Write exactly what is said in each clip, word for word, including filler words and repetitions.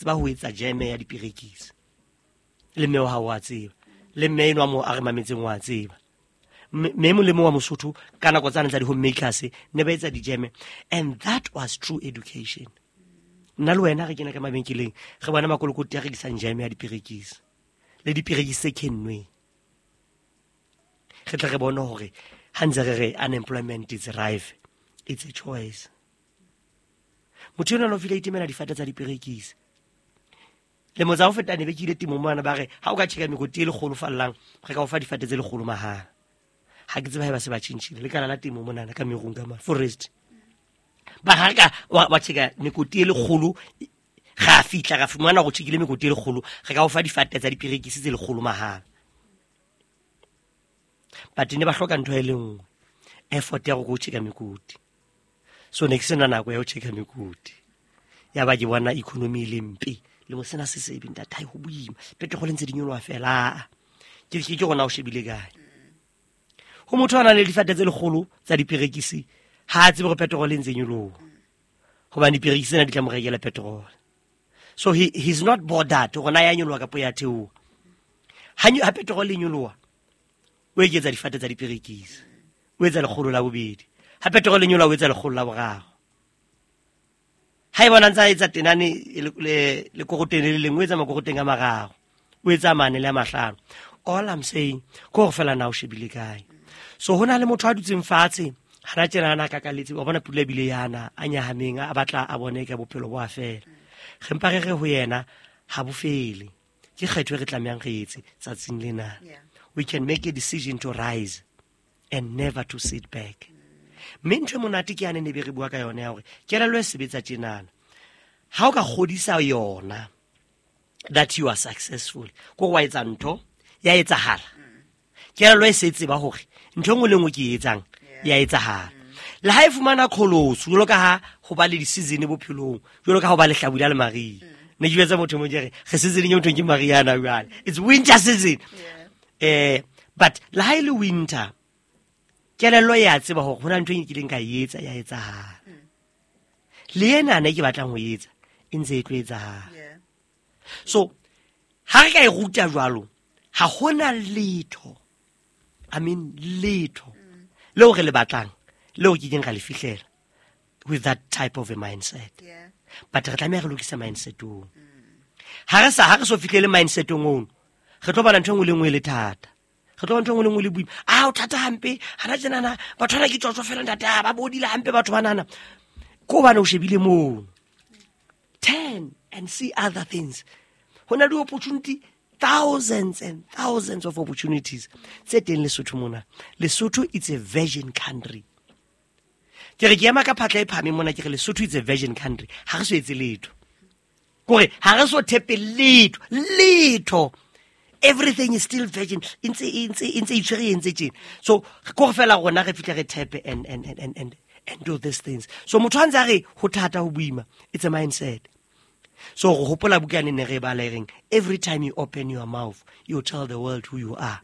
Tseba ho etsa jeme ya diperekisi le mme wa hao wa tseba, le mme enwa mo a re mametseng wa tseba. Mme mo le mo wa Mosotho ka nako tsane tsa di-homemakers ne ba etsa dijeme, and that was true education. Nna le wena re kena ka mabenkeleng, re bona makolokoti a rekisang jeme ya diperekisi le diperekisi tse kennweng. Re tle re bone hore ha ntse re re unemployment is rife, it's a choice. Motho enwa o file itemela difate tsa diperekisi. Lemo tsa ho feta ne be ke ile temong mona, ba re ha o ka tjheka mekoti e lekgolo fallang, re ka o fa difate tse lekgolo mahala. Ha ke tsebe ha ba se ba tjhentjhile lekala la temo monana ka merung ka ma forest. Ba ha ka wa tjheka mekoti e lekgolo, ra fihla ra fumana go tjhekile mekoti e lekgolo, re ka o fa difate tsa diperekisi tse lekgolo mahala. But ne ba hloka ntho e le nngwe, effort ya go go tjheka mekoti. So ne ke sena nako ya ho tjheka mekoti. Ya ba ke bona economy e le mpe. Le mo sena se sebe ntate, hai ho boima. Petrol ntse di nyoloha fela. Ke ke ke rona o shebile kae. Ho motho a nang le difate tse lekgolo tsa diperekisi, ha a tsebe hore petrol e ntse nyoloha. Hobane diperekisi tsena di tla mo rekela petrol. So he he's not bothered hore na ya nyoloha kapa ya theoha. Ha ha petrol e nyoloha, o eketsa difate tsa diperekisi. O etsa lekgolo la bobedi. Ha petrol e nyoloha, o etsa lekgolo la boraro. Ha e bona ntse a etsa tenane le le koroteng le lengwe, o etsa makoroteng a mararo, o etsa mane le a mahlano. All I'm saying ke hore fela na o shebile kae. So hona le motho a dutseng fatshe hana tjena ana kakaletse, wa bona pula ebile yana a nyahameng, a batla a bone ka bophelo bo a fela. Re mpa re re ho yena ha bo fele. Ke kgetho e re tlamehang re etse tsatsing lena. We can make a decision to rise and never to sit back. Mme ntho e monate ke yane ne be re bua ka yona ya hore kelello e sebetsa tjenana. Ha o ka kgodisa yona that you are successful, ko wa etsa ntho ya etsahala. Kelello e se tseba hore ntho e nngwe le nngwe ke e etsang ya etsahala. Le ha e fumana qholotso, jwalo ka ha ho ba le di-season bophelong, jwalo ka ha ho ba le hlabula le mariha. Ne ke jwetsa motho mo ke re, re season e motho ke mariha na jwale. It's winter season. Eh, but le ha e le winter, kelello ya tseba hore hona ntho e nkileng ka e etsa ya etsahala. Le ena ne ke batlang ho etsa e ntse e tlo etsahala. So ha re ka e ruta jwalo, ha hona letho, I mean letho leo re le batlang, leo ke keng ra le fihlela with that type of a mindset. But re tlameha re lokise mindset oo. Ha re sa, ha re so fihlele mindset ono, re tlo bona ntho e nngwe le nngwe e le thata. Re tlo bona ntho e nngwe le nngwe le boima. Ah, o thata hampe, hana tjenana, batho bana ke tsotso fela ntate, ah, ba bodile hampe batho banana. Ko hobane o shebile moo. Turn and see other things. Ho na le opportunity, thousands and thousands of opportunities tse teng Lesotho mona. Lesotho it's a virgin country. Ke re ke ema ka phatla e phahameng mona, ke re Lesotho it's a virgin country. Ha re so etse letho. Kore ha re so thepe letho, letho. Everything is still virgin. Ntse ntse ntse itshwere e ntse tjena. So ko fela rona re fihle re thepe and and and and and and do these things. So motho a ntse a re ho thata ho boima, it's a mindset. So go hopola bukane ne re bala e reng, every time you open your mouth, you tell the world who you are.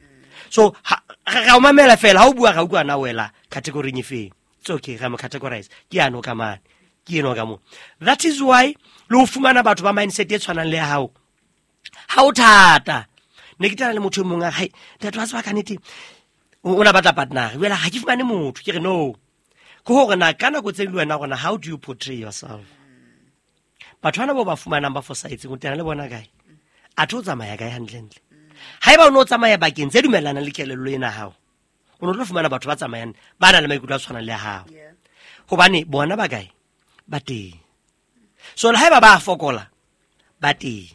So ha ra o mamela fela, ha o bua ra utlwa na wela category e feng. It's okay, ra mo categorize. Ke ano ka mane, ke eno ka mo. That is why le ho fumana batho ba mindset e tshwanang le ya hao, ha o thata. Ne ke tana le motho e mong a re, hai, ntate wa tseba ka nnete, o na batla partner. Jwale ha ke fumane motho, ke re no. Ke hore na ka nako tse le wena rona, how do you portray yourself? Batho bana bo ba fumanang ba fosahetseng, o tena le bona kae? Athe o tsamaya kae hantlentle? Haeba o no tsamaya bakeng tse dumellanang le kelello ena hao, o no tlo fumana batho ba tsamayang ba nang le maikutlo a tshwanang le a hao. Hobane bona ba kae? Ba teng. So le haeba ba fokola, ba teng.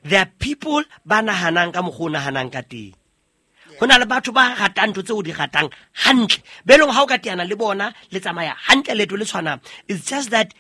There are people ba nahanang ka mokgwa o nahanang ka teng. Ho na le batho ba ratang ntho tseo o di ratang hantle. Be leng ha o ka teana le bona, le tsamaya hantle leeto le tshwanang. It's just that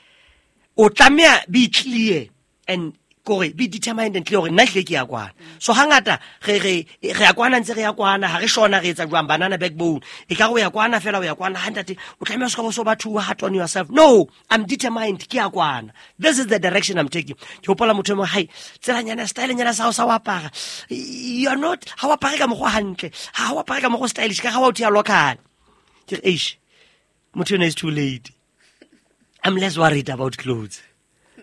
o tlameha be clear and kore be determined and clear hore nna hlile ke ya kwana. So hangata re re re ya kwana ntse re ya kwana, ha re shona re etsa jwang banana backbone. E ka re o ya kwana fela o ya kwana, ha ntate o tlameha o ska bo so batho hard on yourself. No, I'm determined, ke ya kwana. This is the direction I'm taking. Ke hopola motho e mong, hai, tselanyana style nyana sa hao sa ho apara. You are not, ha o apare ka mokgwa hantle, ha o apare ka mokgwa stylish, ka ha o thea local. Ke re, eish, motho ena is too late. I'm less worried about clothes.